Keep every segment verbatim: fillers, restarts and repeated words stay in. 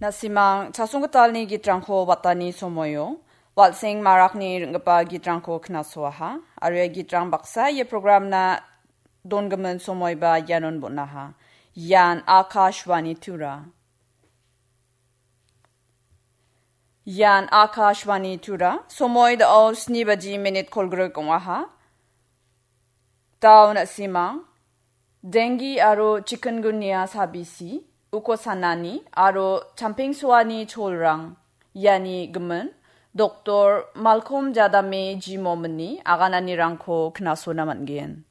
Nasimang chasonggitalni gitrangko watani somoio, Walseng Marakni ringgipa gitrangko knasoaha, aro ia gitrang baksa ia programna dongimin somoiba ianon bon·aha. Ian Akashvani Tura. Ian Akashvani Tura, somoi dao sni baji minit kolgrik ong·aha. Dao nasimang, dengi aro chikungunya sabisi, uko sanani, aro champengsoani cholrang, iani gimin, Doktor Malcolm Jadame Jimomini agananirangko knasona man·gen.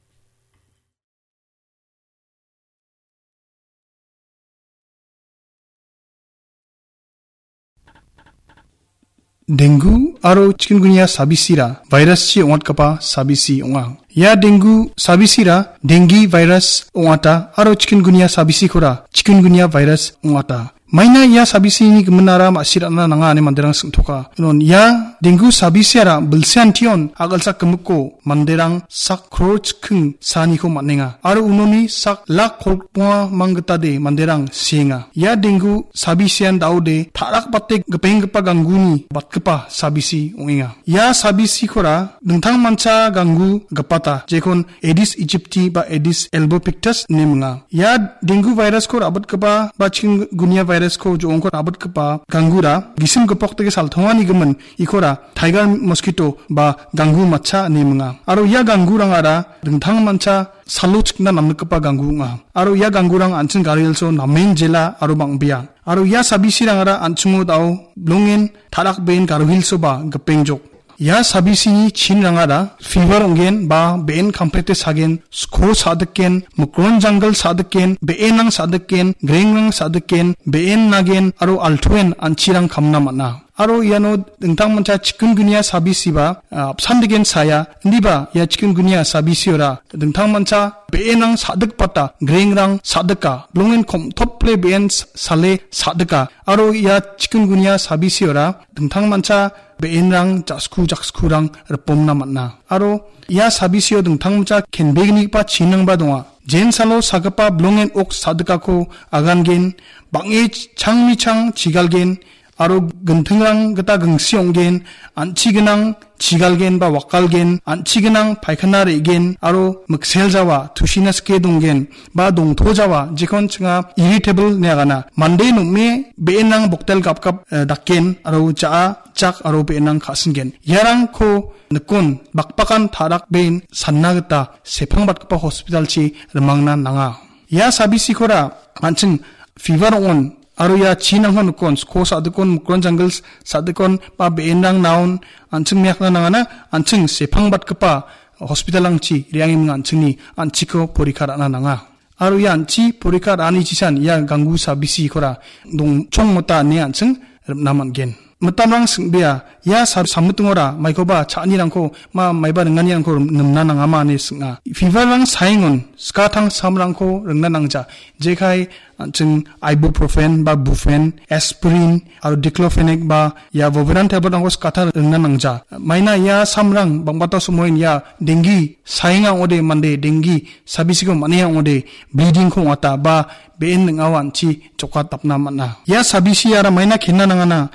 Dengu aro chikungunya sabisira viruschi ong·atgipa sabisi ong·a. Ia dengu sabisira dengi virus ong·ata aro chikungunya sabisikora chikungunya virus ong·ata. Maina ia sabisini giminara ma·sirana nanga ine manderang singtoka. Unon ia dengu sabisiara bilseantion a·gilsak gimikko manderang sak kror chiking saniko man·enga. Aro unoni sak lak kolgrikonga manggitade manderang sienga. Ia dengu sabisian daode ta·rakbate gipenggipa gangguni batgipa sabisi ong·enga. Ia sabisikora dingtangmancha ganggu gipata, jekon Aedes aegypti ba Aedes albopictus ine minga. Ia dengu virusko ra·batgipa ba chikungunya virusko jo·ongko ra·batgipa ganggura gisim gipok dake saltongani gimin ikora tiger mosquito ba ganggu matcha ine minga. Aro ia ganggurangara dingtangmancha salo chikna namnikgipa ganggu ong·a. Aro ia ganggurang an·ching Garo Hills-o namen jela aro bang·bea. Aro ia sabisirangara an·chingo dao bilongen ta·rakben Garo Hills-oba gipengjok. Ia sabisini chinrangara fever ong·gen ba be·en kamprete sagen, sko sa·diken, mikron janggil sa·diken, be·enrang sa·diken, grengrang sa·diken, be·en nagen aro altoen an·chirang kamna man·a. Aro iano dingtangmancha chikungunya sabisiba, ah, apsan degen saya, indiba ia chikungunya sabisiora dingtangmancha be·enrang sa·dikbata, grengrang sa·dika, bilongen komtople be·en s-, sale sa·dika. Aro ia chikungunya sabisiora dingtangmancha be·enrang ja·sku jakskurang ripomna man·a. Aro ia sabisio dingtangmancha kenbegnigipa chinrangba donga. Jensalo sagipa bilongen ok sa·dikako agangen, bang·e ch-, changni chang chigalgen, aro gintingrang gita gingsi ong·gen, an·chi gnang chigalgen ba wakalgen, an·chi gnang paikhana re·gen, aro mikseljawa tusina sike donggen, ba dongtojawa, jekon chinga irritable ine agana. Mande nom·e be·enrang boktel gapgap, eh, dakgen, aro ja·a, jak, aro be·enrang ka·singen. Iarangko nikon bakbakan ta·rakben sanna gita sepangbatgipa hospitalchi rimangna nanga. Ia sabisikora an·ching fever ong·on, aro ia chinrangko nikon, sko sa·dikon, mikron janggil s-, sa·dikon, ba be·enrang naon, an·ching miakna nangana, an·ching sepangbatgipa hospitalrangchi re·angiming an·chingni an·chiko porikha ra·na nanga. Aro ia an·chi porikha ra·ani chisan ia ganggu sabisikora dongchong mota ine an·ching ripna man·gen. Mitamrang sing·bea, ia sa-, sammitingora maikoba cha·anirangko, ma-, maiba ringanirangko rim-, nimna nangama ine sing·a. Feverrang saengon skatang samrangko ringna nangja. Jekai an·ching ibuprofen ba brufen, aspirin, aro diclofenac ba ia Voveran tabletrangko skata ringna nangja. Maina ia samrang bang·bata somoin ia dengi saenga ong·ode mande dengi sabisiko man·enga ong·ode bleedingko ong·ata ba be·en ning·ao an·chi jokatapna man·a. Ia sabisiara maina kenna nangana,